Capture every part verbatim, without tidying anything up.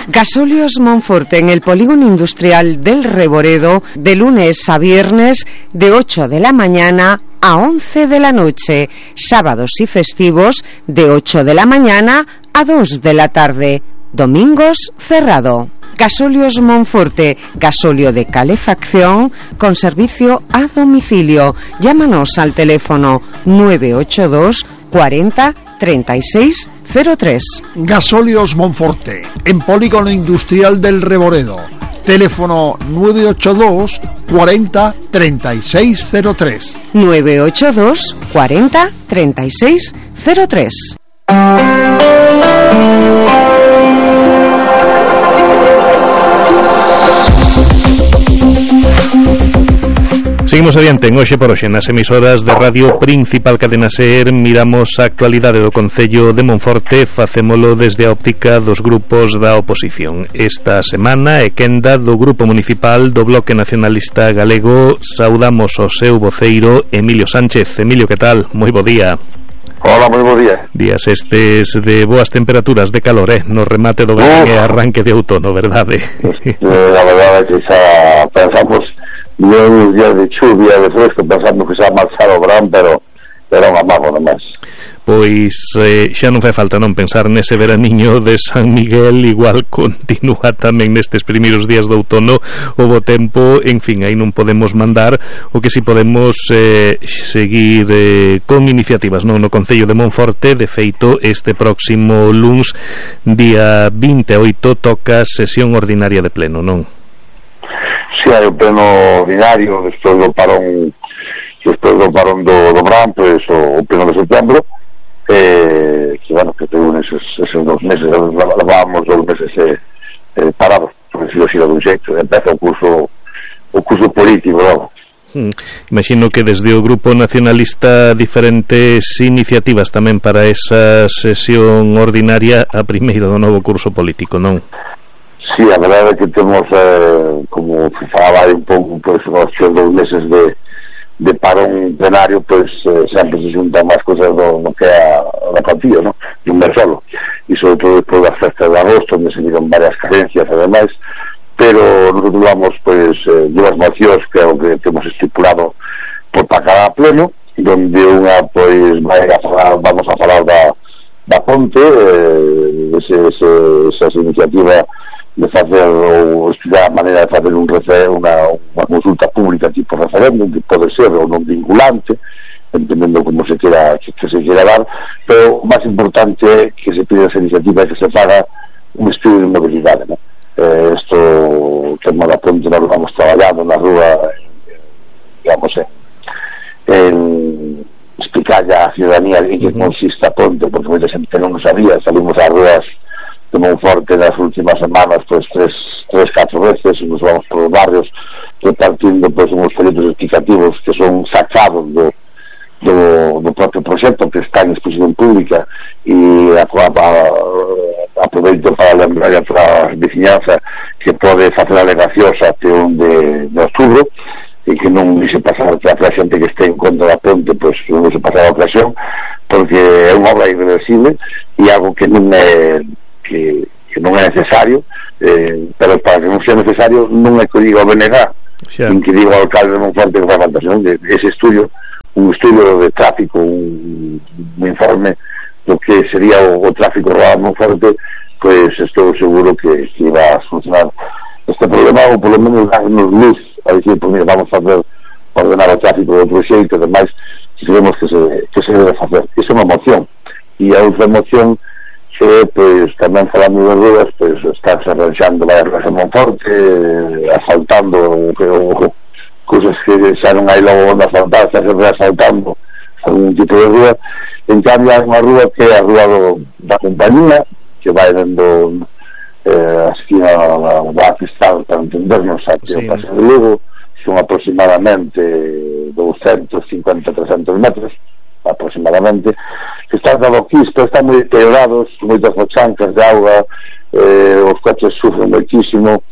Gasóleos Monforte en el polígono industrial del Reboredo, de lunes a viernes de ocho de la mañana a once de la noche, sábados y festivos de ocho de la mañana a dos de la tarde, domingos cerrado. Gasóleos Monforte, gasóleo de calefacción con servicio a domicilio. Llámanos al teléfono nueve ocho dos cuarenta treinta y seis cero tres. Gasóleos Monforte, en polígono industrial del Reboredo. Teléfono nueve ocho dos cuarenta treinta y seis cero tres. nueve ocho dos cuarenta treinta y seis cero tres. Seguimos adiante en Hoxe por Hoxe nas emisoras de radio Principal Cadena Ser. Miramos a actualidade do Concello de Monforte, facémolo desde a óptica dos grupos da oposición. Esta semana é quenda do Grupo Municipal do Bloque Nacionalista Galego. Saudamos o seu voceiro Emilio Sánchez. Emilio, que tal? Moi bo día. Hola, moi bo día. Días estes de boas temperaturas de calor, eh? No remate do verán e arranque de outono, verdade? Eh, a verdade é que xa pensamos uns días de chuvia, de fresco, pensamos que xa marchar o verán, pero era un amago nomás. Pois eh, xa non fai falta non pensar nese veraniño de San Miguel. Igual continúa tamén nestes primeiros días de outono o bo tempo. En fin, aí non podemos mandar. O que si podemos eh, seguir eh, con iniciativas, non? No Concello de Monforte, de feito, este próximo luns día vinte e oito toca sesión ordinaria de pleno, non? Si, hai o pleno ordinario despois do parón despois do parón do, do verán, pois o, o pleno de setembro, eh, que bueno, que tengo esos, esos dos meses, levábamos dos meses eh, eh, parados, por decirlo así de un xeito. Empeza o curso o curso político, non? Hmm. Imagino que desde o Grupo Nacionalista diferentes iniciativas tamén para esa sesión ordinaria, a primeira do novo curso político, non? Sí, a verdade é que temos, eh, como falaba aí un pouco, pois, os dos meses de, de parón plenario, pois, eh, sempre se xuntan máis cousas do, do que é a, a partida, non? De un mes solo. E sobre todo despois das festas de agosto, onde se viron varias carencias e demais, pero nosotros vamos, pois, eh, dúas mocións que é o que temos estipulado por para cada pleno, donde unha, pois, vai a falar, vamos a falar da, da ponte, eh, ese, ese, esa iniciativa de facer ou estudiar a maneira de facer un refer, unha, unha consulta pública tipo referéndum, que pode ser ou non vinculante, entendendo como se quera, que, que se quera dar, pero o máis importante é que se pide esa iniciativa e que se faga un estudio de mobilidade, ¿no? Eh, esto, que en Malaponte nos vamos traballando na rúa, eh, digamos, eh, en explicarle a ciudadanía en que consiste a ponte, porque moita xente non o sabía. Salimos ás rúas de Monforte nas últimas semanas, pois tres, tres, catro veces, e nos vamos por os barrios repartindo, pois, uns folletos explicativos que son sacados do, do, do propio proxecto, que está en exposición pública, e a, a, a, aproveito para lembrar a toda a veciñanza que pode facer alegacións até un de, de outubro, e que non dixe pasar que a xente que este en contra da ponte, pois non dixe pasar a ocasión, porque é unha obra irreversible e algo que non é que, que non é necesario, eh, pero para que non sea necesario non é que diga o B N G, sí, nin que diga o alcalde de Monforte que fai falta, senón ese estudio, un estudio de tráfico, un, un informe do que sería o, o tráfico rodado en Monforte, pois estou seguro que, que iba a solucionar este problema, ou polo menos darnos luz a decir, pues mira, vamos a fazer ordenar o tráfico de outro xeito, e demais, que sabemos que se, que se debe facer. Iso é unha moción, e a outra moción que, pois, tamén falando de ruas, pois, están se arranxando varias ruas en Monforte, asfaltando que, o, cousas que xa non hai logo onde asfaltar, xa se reasfaltando algún tipo de rúa. En cambio, hai unha rúa que é a rúa do, da compañía, que vai dando eh, a esquina da Cristal, para entendernos, até sí, o Paseo de Lugo, son aproximadamente doscientos cincuenta a trescentos metros, aproximadamente, que están da loquista, están moi deteriorados, moitas fochancas de auga, eh, os coches sufren moitísimo,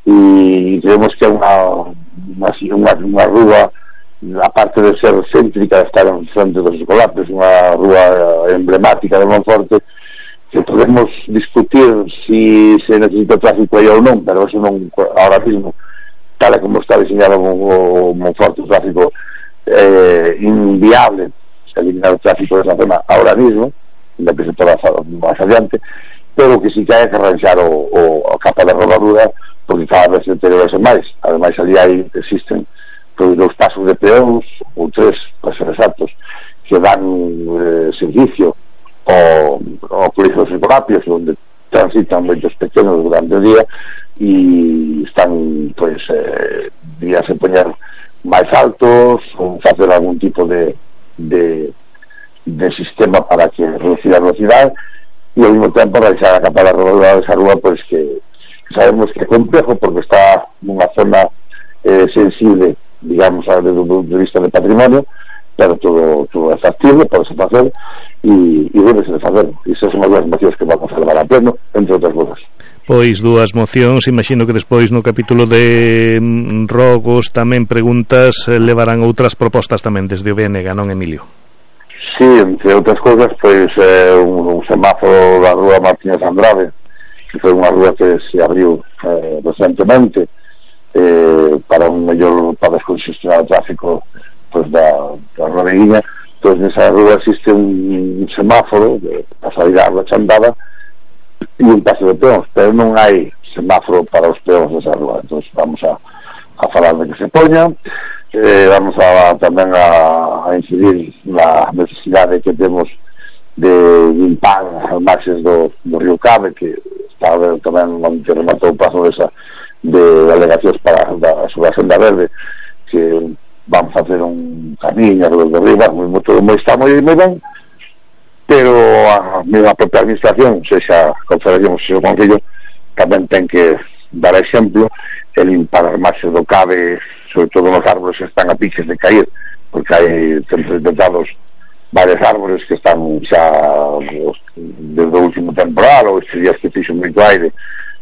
e creemos que é unha unha, unha rúa, aparte de ser céntrica, de estar en frente dos escolares, unha rúa emblemática de Monforte, que que podemos discutir si se necesita tráfico aí ou non, pero eso non, ahora mismo, tal como está diseñado o Monforte, o tráfico eh, inviable eliminar o tráfico desa zona ahora mismo, ainda que se toda máis adiante, pero que si que hai que arranxar o, o, a capa de rodadura, porque cada vez se deteriorase máis. Ademais, ali hai, existen pois, dous pasos de peóns, ou tres, para ser exactos, que dan eh, servicio ao, ao colegio dos Escolapios, onde transitan moitos pequenos durante o día e están, pois, eh, días a poñer máis altos ou facer algún tipo de, de, de sistema para que reducir a velocidade e ao mesmo tempo realizar a capa da rodadura desa rúa, pois que sabemos que é complejo porque está nunha zona eh, sensible, digamos, desde o punto de vista de patrimonio, pero todo, todo é factible, pode se facer e, e debe se facer. E esas son as mocións que vamos a levar a pleno, entre outras cousas. Pois dúas mocións, imagino que despois no capítulo de rogos tamén preguntas levarán outras propostas tamén desde o B N G, non, Emilio? Sí, entre outras cousas, pois eh, un, un semáforo da rúa Martínez Andrade, que foi unha rúa que se abriu eh, recentemente eh, para un mellor, para descongestionar o tráfico pois, da, da Rodeguiña. Pois nesa rúa existe un, un semáforo para sair a rúa Chandada e un paso de peóns, pero non hai semáforo para os peóns desa rúa. Entón vamos a, a falar de que se poña. Eh, vamos a tamén a, a incidir na necesidade que temos de limpar as marxes do, do río Cabe, que está a ver tamén onde rematou o paso desa de alegacións para da, sobre a senda verde, que vamos a hacer un camiño alrededor de arriba, moi, todo moi, está moi, moi ben, pero a mesma propia administración, sexa a Confederación, sexa o Concello, tamén ten que dar exemplo e limpar as marxes do Cabe, sobre todo nos árboles que están a piques de caer, porque hai detectados varios árboles que están xa desde o último temporal ou estes días que fixo moito aire,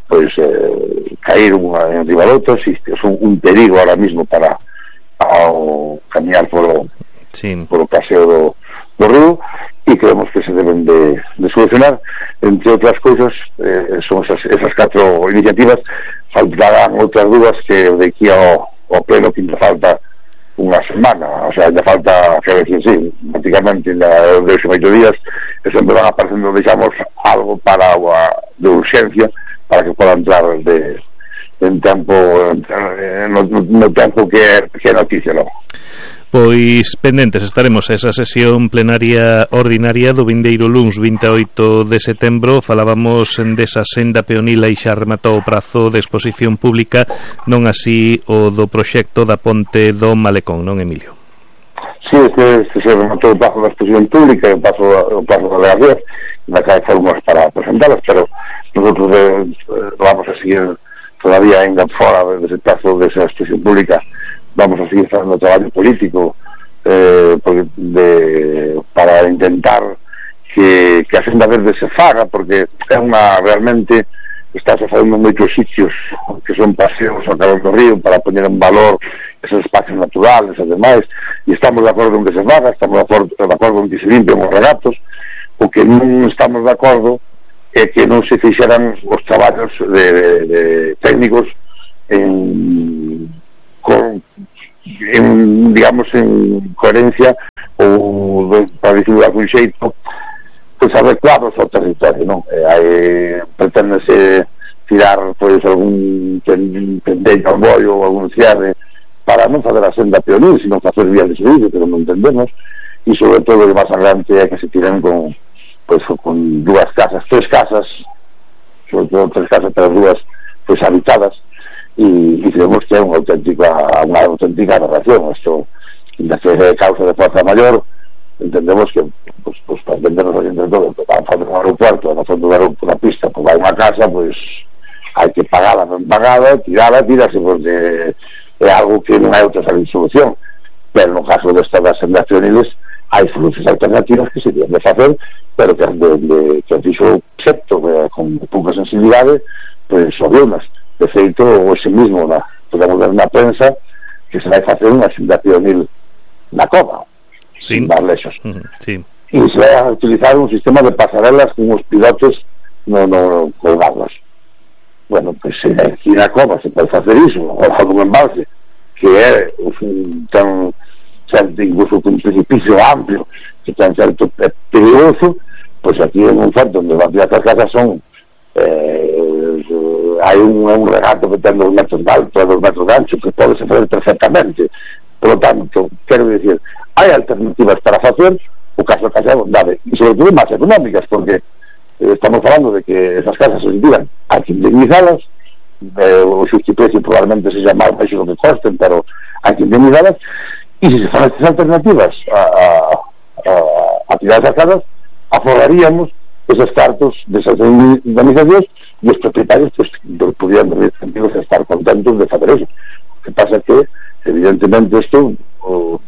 pois eh, caíron en riba de outros e son un perigo ahora mismo para ao camiñar polo, sí. polo paseo do, do río, e creemos que se deben de, de solucionar. Entre outras cousas, eh, son esas, esas catro iniciativas. Faltarán outras dúas que de aquí ao, ao pleno que ainda falta unha semana, o sea, ainda falta, que decir, sí, prácticamente ainda de oito días, e sempre van aparecendo, deixamos algo para a, de urxencia para que poda entrar de, en tempo no, no tempo que é, que é noticia, non? Pois pendentes estaremos a esa sesión plenaria ordinaria do vindeiro luns vinte e oito de setembro. Falábamos desa senda peonil e xa rematou o prazo de exposición pública, non así o do proxecto da ponte do Malecón, non, Emilio? Sí, este, este se rematou o prazo da exposición pública e o prazo, o prazo da alegación, na que hai formas para presentarlas, pero nosotros eh, vamos a seguir todavía ainda fora dese prazo desa exposición pública. Vamos a seguir facendo traballo político eh, porque de, para intentar que, que a senda verde se faga, porque é unha realmente está se facendo moitos sitios que son paseos ao calor do río para poñer en valor esos espacios naturales e demais, e estamos de acordo en que se faga, estamos de acordo, de acordo en que se limpen os regatos. O que non estamos de acordo é que non se fixeran os traballos de, de, de técnicos en con en, digamos, en coherencia ou para dicirlo de algún xeito, pois adecuados ao territorio, non? Eh, hai, preténdese tirar pois algún pendello ao bollo ou algún cierre para non fazer a senda peonil, sino facer vías de servicio, pero non entendemos, e sobre todo o máis adelante é que se tiren con pois con dúas casas, tres casas, sobre todo tres casas, pero dúas pois habitadas, e, e creemos que é unha auténtica unha auténtica narración. Isto, na que é causa de fuerza maior, entendemos que pues, pues, para entendernos aquí entre todos, van a fazer un aeropuerto, van a fazer unha pista, pues vai unha casa, pues hai que pagala, non pagada, tirala, tirase, porque é algo que non hai outra solución. Pero no caso desta das sendas peoniles hai solucións alternativas que se deben de facer, pero que, de, de, que fixo excepto eh, con pouca sensibilidade, pues sobre unas. De feito, ese mismo na, podemos ver na prensa que se vai facer unha senda peonil na cova, sí. Sin dar lexos, mm, sí. E se vai a utilizar un sistema de pasarelas con os pilotos no, no colgarlas. Bueno, pois pues, aquí na cova se pode facer iso, ou algún embalse que é un, tan certo, incluso un precipicio amplio que tan certo é perigoso, pois pues aquí en un certo onde as vias casas son eh, hai un, un regato que ten dos metros de alto e dos metros de ancho que pode se fazer perfectamente. Por lo tanto, quero dicir, hai alternativas para facer o caso da casa de bondade, e sobre todo máis económicas, porque eh, estamos falando de que esas casas se digan hai que indemnizalas, eh, o xustiprecio probablemente seja máis baixo do que costen, pero hai que indemnizalas, e se se fan estas alternativas a, a, a, a tirar esas casas, aforaríamos esos cartos desas indemnizacións e os propietarios pues, podrían estar contentos de fazer eso. O que pasa que evidentemente isto o,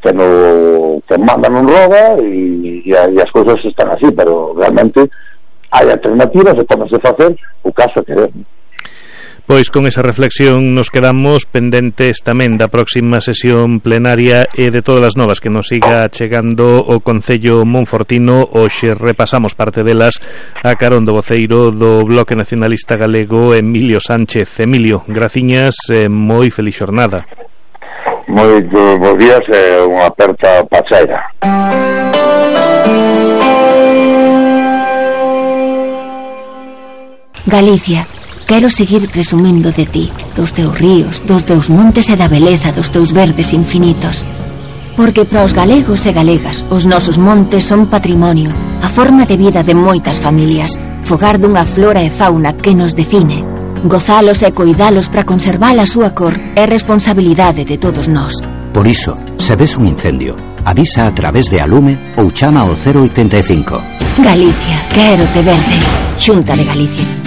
que no que manda non roba e, e, e as cousas están así, pero realmente hai alternativas e pódense facer o caso que queremos. Pois con esa reflexión nos quedamos pendentes tamén da próxima sesión plenaria e de todas as novas que nos siga chegando o Concello Monfortino. Hoxe repasamos parte delas a carón do voceiro do Bloque Nacionalista Galego, Emilio Sánchez. Emilio, graciñas e moi feliz xornada. Moitos bons días e unha aperta pachaira. Galicia, quero seguir presumindo de ti, dos teus ríos, dos teus montes e da beleza dos teus verdes infinitos. Porque para os galegos e galegas os nosos montes son patrimonio, a forma de vida de moitas familias, fogar dunha flora e fauna que nos define. Gozalos e coidalos para conservar a súa cor é responsabilidade de todos nós. Por iso, se ves un incendio, avisa a través de Alume ou chama ao cero oitenta e cinco. Galicia, quero te verde. Xunta de Galicia.